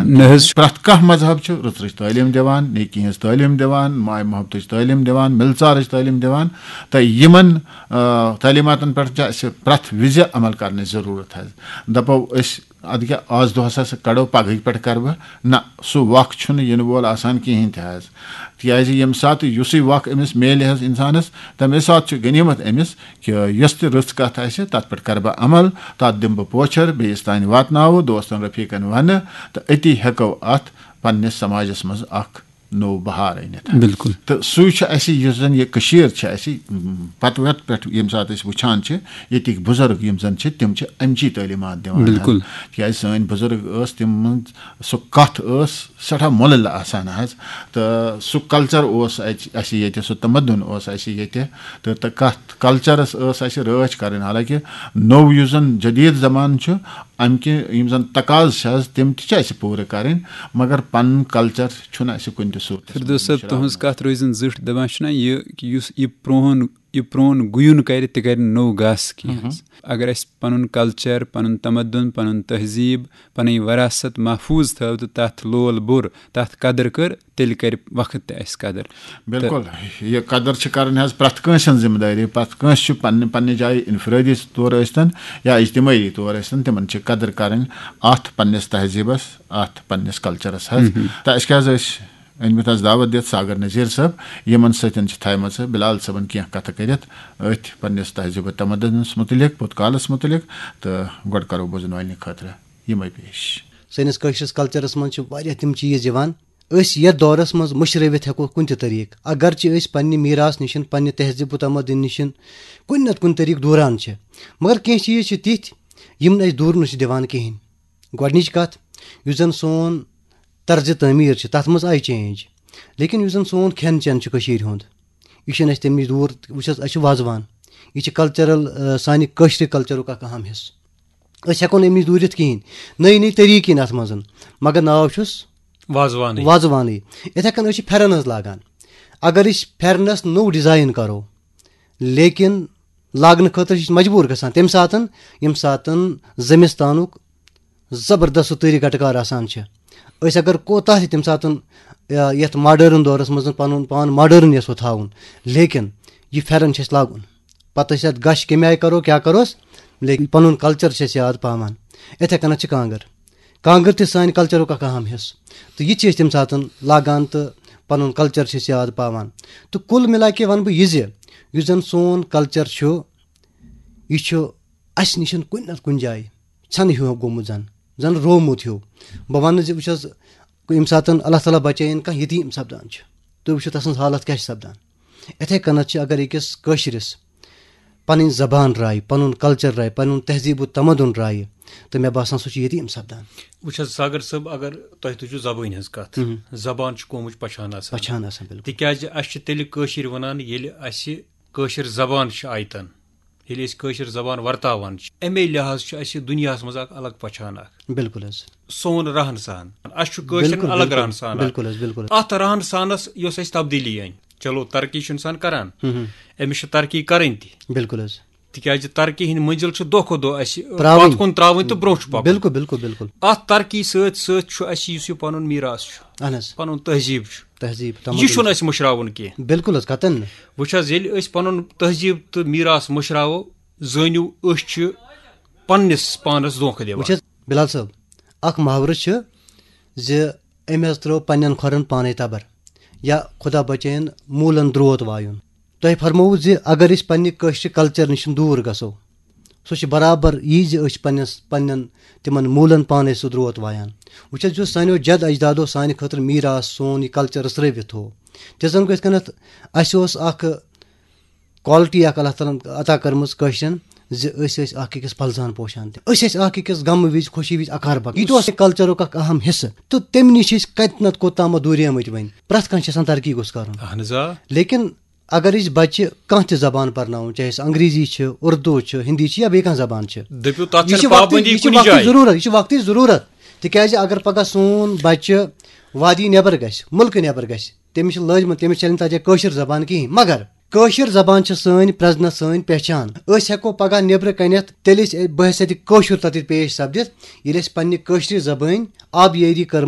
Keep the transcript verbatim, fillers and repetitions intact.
نہ حظ۔ پرٛٮ۪تھ کانٛہہ مذہب چھُ رٕژرٕچ تعلیٖم دِوان، نیکی ہٕنٛز تعلیٖم دِوان، ماے محبتٕچ تعلیٖم دِوان، مِلژارٕچ تعلیٖم دِوان۔ تہٕ یِمن آ، تعلیٖماتن پٮ۪ٹھ چھِ اَسہِ پرٛٮ۪تھ وِزِ عمل کرنٕچ ضروٗرت حظ۔ دَپو أسۍ، اَدٕ کیٛاہ آز دۄہس ہسا کڑو، پگہٕکۍ پٮ۪ٹھ کرٕ بہٕ؟ نہ، سُہ وق چھُنہٕ یِنہٕ وول آسان کِہینۍ تہِ حظ۔ تِکیازِ ییٚمہِ ساتہٕ یُسٕے وق أمِس میلہِ حظ انسانس، تَمے ساتہٕ چھُ غنیٖمت أمِس کہِ یۄس تہِ رٕژ کتھ آسہِ، تتھ پٮ۪ٹھ کرٕ بہٕ عمل، تتھ دِمہٕ بہٕ پوچھر، بیٚیِس تانۍ واتناوٕ، دوستن رفیقن ونہٕ، تہٕ أتی ہٮ۪کو اتھ پننِس سماجس منٛز اکھ نوٚو بہار أنِتھ۔ بالکل۔ تہٕ سُے چھُ اَسہِ، یُس زَن یہِ کٔشیٖر چھِ اَسہِ، م، پَتہٕ وَتہٕ پٮ۪ٹھ ییٚمہِ ساتہٕ أسۍ وٕچھان چھِ، ییٚتِکۍ بُزرگ یِم زَن چھِ، تِم چھِ اَمچی تعلیٖمات دِوان حظ۔ بالکل۔ تِکیٛازِ سٲنۍ بُزرگ ٲس، تِم سُہ کَتھ ٲس سٮ۪ٹھاہ مۄلٕل آسان حظ، تہٕ سُہ کلچر اوس اَتہِ، اَسہِ ییٚتہِ، سُہ تمدُن اوس اَسہِ ییٚتہِ، تہٕ تہٕ کَتھ کلچرس ٲس اَسہِ رٲچھ کَرٕنۍ۔ حالانکہِ نوٚو یُس زَن جدیٖد زمانہٕ چھُ، اَمہِ کہِ یِم زَن تقاضہٕ چھِ حظ، تِم تہِ چھِ اَسہِ پوٗرٕ کَرٕنۍ، مگر پَنُن کلچر چھُنہٕ اَسہِ کُنہِ تہِ صوٗرتَس منٛز فردوس صٲب، مٔشراوُن۔ تُہٕنٛز کَتھ روزِ نہٕ زٕٹھ، دَپان چھُنہ یہِ کہِ یُس یہِ پرٛون، یہِ پرٛون گُیُن کَرِ، تہِ کَرِ نوٚو گاسہٕ کینٛہہ حظ۔ اگر اَسہِ پَنُن کلچر، پَنُن تمدُن، پَنُن تہذیٖب، پَنٕنۍ وراثت محفوٗظ تھٲو تہٕ تَتھ لول بوٚر، تَتھ قدٕر کٔر، تیٚلہِ کَرِ وقت تہِ اَسہِ قدٕر۔ بالکل، یہِ قدٕر چھِ کَرٕنۍ حظ پرٛٮ۪تھ کٲنٛسہِ ہٕنٛز ذِمہٕ دٲری۔ پرٛٮ۪تھ کٲنٛسہِ چھُ پننہِ پننہِ جایہِ انفرٲدی طور ٲسۍتن یا اجتمٲعی طور ٲسۍتن، تِمن چھِ قدٕر کَرٕنۍ اَتھ پننِس تہذیٖبَس، اَتھ پننِس کلچرس حظ۔ تہٕ اَسہِ کیٛاہ حظ ٲسۍ أنۍمٕتۍ حظ دعوت دِتھ ساگر نذیٖر صٲب، یِمن سۭتۍ چھِ تھایمَژٕ بِلال صٲبن کینٛہہ کَتھٕ کٔرِتھ أتھۍ پننِس تہذیٖب و تمدنس مُتعلق، بُت کالس مُتعلق، تہٕ گۄڈٕ کَرو بوزن والنہِ خٲطرٕ یِمے پیش۔ سٲنِس کٲشرِس کلچرس منٛز چھِ واریاہ تِم چیٖز یِوان، أسۍ یَتھ دورس منٛز مٔشرٲوِتھ ہٮ۪کو کُنہِ تہِ طریٖقہٕ، اگرچہِ أسۍ پننہِ میٖراث نِش، پننہِ تہذیٖب و تمدُن نِش کُنہِ نتہٕ کُنہِ طریٖقہٕ دوٗران چھِ، مگر کینٛہہ چیٖز چھِ تِتھۍ یِم نہٕ أسۍ دوٗرنہٕ چھِ دِوان کِہینۍ۔ گۄڈٕنِچ کتھ، یُس زن سون طرزِ تعمیٖر چھِ، تتھ منٛز آیہِ چینج، لیکن یُس زن سون کھٮ۪ن چٮ۪ن چھُ کٔشیٖرِ ہُنٛد، یہِ چھُنہٕ اَسہِ تَمہِ نِش دوٗر۔ وٕچھ حظ، اَسہِ چھُ وازوان، یہِ چھِ کلچرل، آ، سانہِ کٲشرِ کلچرُک اکھ اہم حصہٕ۔ أسۍ ہٮ۪کو نہٕ اَمہِ نِش دوٗرِتھ کِہینۍ، نٔے نٔے طریٖقہٕ یِن اَتھ منٛز، مگر ناو چھُس وازوانٕے۔ وازوانٕے۔ یِتھے کٔنۍ أسۍ چھِ پھٮ۪رن حظ لاگان۔ اگر أسۍ پھٮ۪رنس نوٚو ڈیزاین کرو، لیکن لاگنہٕ خٲطرٕ چھِ أسۍ مجبوٗر گژھان تَمہِ ساتن، ییٚمہِ ساتن زمستانُک زبردست سُہ تۭرِ گٹہٕ کار آسان چھِ۔ أسۍ اگر کوتاہ تہِ تَمہِ ساتن، یا، یَتھ ماڈٲرٕن دورس منٛز پنُن پان ماڈٲرٕن یژھو تھاوُن، لیکن یہِ پھٮ۪رن چھِ اَسہِ لاگُن۔ پتہٕ أسۍ اَتھ گش کَمہِ آیہِ کرو، کیٛاہ کروس، لیکن پنُن کلچر چھِ أسۍ یاد پاوان۔ یِتھے کٔنتھ چھِ کانٛگٕر۔ کانٛگٕر تہِ سانہِ کلچرُک اکھ اہم حصہٕ، تہٕ یہِ تہِ چھِ أسۍ تَمہِ ساتن لاگان تہٕ پنُن کلچر چھِ أسۍ یاد پاوان۔ تہٕ کُل مِلا کے ونہٕ بہٕ یہِ زِ یُس زن سون کلچر چھُ، یہِ چھُ اَسہِ نِش کُنہِ نتہٕ کُنہِ جایہِ ژھٮ۪نہٕ ہیوٗ گوٚمُت، زن زن روومُت ہیوٗ۔ بہٕ ونہٕ زِ وٕچھ حظ، ییٚمہِ ساتن اللہ تعالیٰ بچٲیِن کانٛہہ یتیٖم سپدان چھُ، تُہۍ وٕچھِو تسٕنٛز حالت کیٛاہ چھِ سپدان۔ یِتھے کٔنتھ چھِ اگر أکِس کٲشرِس پنٕنۍ زبان راے، پنُن کلچر راے، پنُن تہذیٖب و تمدُن راے، تہٕ مےٚ باسان سُہ چھُ یتیٖم سپدان۔ وٕچھ حظ ساگر صٲب، اگر تۄہہِ تُجو زبٲنۍ ہٕنٛز کتھ، زبان چھُ قومٕچ پہچان آسان۔ پہچان آسان، بالکل۔ تِکیازِ اسہِ چھِ تیٚلہِ کٲشِر ونان، ییٚلہِ اسہِ کٲشِر زبان چھِ آیتن، ییٚلہِ أسۍ کٲشِر زبان ورتاوان چھِ، امے لحاظ چھُ اسہِ دُنیاہس منٛز اکھ الگ پہچان اکھ۔ بالکل حظ۔ سون رہن سہن، اسہِ چھُ کٲشرٮ۪ن بالکل، الگ بالکل، رہن سہن اکھ۔ بالکل حظ، بالکل۔ اتھ رہن سہنس یۄس اسہِ تبدیلی أنۍ، چلو ترقی چھُ انسان کران، أمِس چھِ ترقی کرٕنۍ تہِ، بالکل حظ۔ تِکیازِ ترقی ہٕنٛدۍ مٔنزِل چھِ دۄہ کھۄتہٕ دۄہ اسہِ پرٛاوٕنۍ۔ پتھ کُن ترٛاوٕنۍ تہٕ برونٛہہ چھُ پکُن۔ بالکل، بالکل، بالکل۔ اتھ ترقی سۭتۍ سۭتۍ چھُ اسہِ یُس یہِ پنُن میٖراث چھُ، اہن حظ۔ پنُن تہذیٖب چھُ، تہذیٖب یہِ تمدُن۔ چھُنہٕ اسہِ مٔشراوُن کینٛہہ۔ بالکل حظ، قطعاً نہٕ۔ وٕچھ حظ، ییٚلہِ أسۍ پنُن تہذیٖب تہٕ میٖراث مٔشراوو، زٲنِو أسۍ چھِ پننِس پانس دھوکہٕ دِوان۔ وٕچھ حظ بِلال صٲب، اکھ محاورٕ چھُ زِ أمۍ حظ ترٲو پننٮ۪ن کھۄرن پانے تبر، یا خدا بچٲیِن موٗلن درٛوت وایُن۔ تۄہہِ فرمووُ زِ اگر أسۍ پننہِ کٲشرِ کلچر نِش دوٗر گژھو، سُہ چھُ برابر یی زِ أسۍ چھِ پننِس، پننٮ۪ن تِمن موٗلن پانے سُہ درٛوت وایان۔ وٕچھ حظ، یُس سانیو جد اجدادو سانہِ خٲطرٕ میٖراث سون یہِ کلچر رٔژھرٲوِتھ تھوو، تہِ زن گٔژھۍ کٔنتھ اسہِ اوس اکھ quality اکھ اللہ تعالیٰ ہن عطا کٔرمٕژ کٲشرٮ۪ن زِ أسۍ ٲسۍ اکھ أکِس پلزان پوشان تہِ۔ أسۍ ٲسۍ اکھ أکِس غمہٕ وِزِ، خوشی وِزِ اکار بکار۔ یہِ تہِ اوس کلچرُک اکھ اہم حصہٕ۔ تہٕ تمہِ نِش چھِ أسۍ کتہِ نتہٕ کوٚت تامتھ دوٗریمٕتۍ وۄنۍ۔ پرٛٮ۪تھ کانٛہہ چھِ یژھان ترقی گوٚژھ کرُن۔ اہن حظ آ۔ لیکن اگر أسۍ بچہِ کانٛہہ تہِ زبان پرناوُن، چاہے سُہ انگریزی چھِ، اردو چھِ، ہندی چھِ یا بیٚیہِ کانٛہہ زبان چھِ، دٔپِو، تتھ یہِ چھَنہٕ چھِ وقتٕچ، پابندی یہِ چھِ کُنہِ وقتٕچ جایہِ۔ ضروٗرت، یہِ چھِ وقتٕچ ضروٗرت۔ تِکیازِ اگر پگاہ سون بچہِ وادی نٮ۪بر گژھِ، مُلکہٕ نٮ۪بر گژھِ، تٔمِس چھِ لٲجمٕژ، تٔمِس چلہِ نہٕ تتہِ کٲشِر زبان کِہینۍ۔ مگر کٲشِر زبان چھِ سٲنۍ پرزنت، سٲنۍ پہچان۔ أسۍ ہٮ۪کو پگاہ نٮ۪برٕ کنٮ۪تھ تیٚلہِ أسۍ بحیثیت کٲشُر تتہِ پیش سپدِتھ، ییٚلہِ أسۍ پننہِ کٲشرِ زبٲنۍ آبیٲری کٔرمٕژ